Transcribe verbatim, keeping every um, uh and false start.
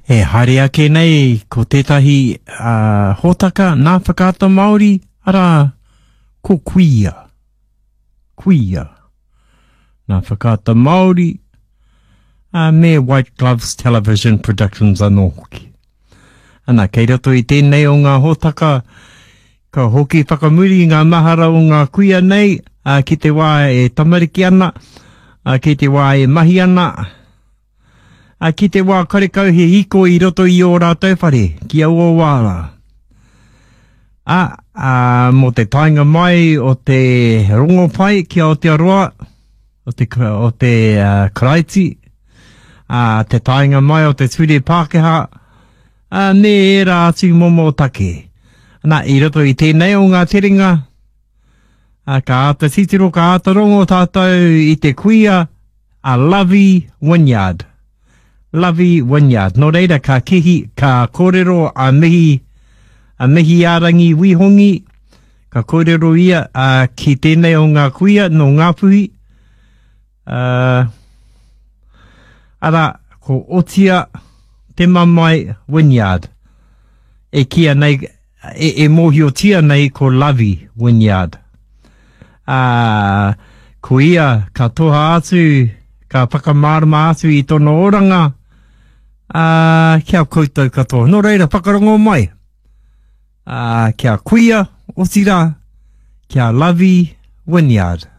E haere ake nei ko tētahi uh, hōtaka nā Whakaata Māori, arā, ko Kuia. Kuia. Nā Whakaata Māori, uh, me White Gloves Television Productions anō hoki. Ana, kei roto i tēnei o ngā hōtaka, ka hoki whakamuri ngā mahara o ngā kuia nei, uh, ki te wā e tamariki ana, uh, ki te wā e mahi ana, uh, ki te wā karekau he hiko i roto i ō rātou whare, ki aua wā rā. A, a, mō te taenga mai o te rongopai ki Aotearoa, o te, o te uh, Karaiti, a, te taenga mai o te ture Pākehā, a, me ērā atu momo take. Nā, i roto i tēnei o ngā terenga, a, ka āta titiro, ka āta rongo tātou i te kuia a Lovey Wynyard. Lovey Wynyard. Nō reira, ka kihi, ka kōrero a Mihi, a Mihiārangi Wihongi, ka kōrero ia a, ki tēnei o ngā kuia nō Ngāpuhi. Uh, ara, ko Otia Te Mamae Wynyard. E kīa nei, e, e mōhiotia nei ko Lovey Wynyard. Uh, ko ia ka toha atu, ka whakamārama atu i tōna oranga, uh, kia koutou katoa. Nō reira, whakarongo mai. Uh, kia kuia, otirā, kia Lovey Wynyard.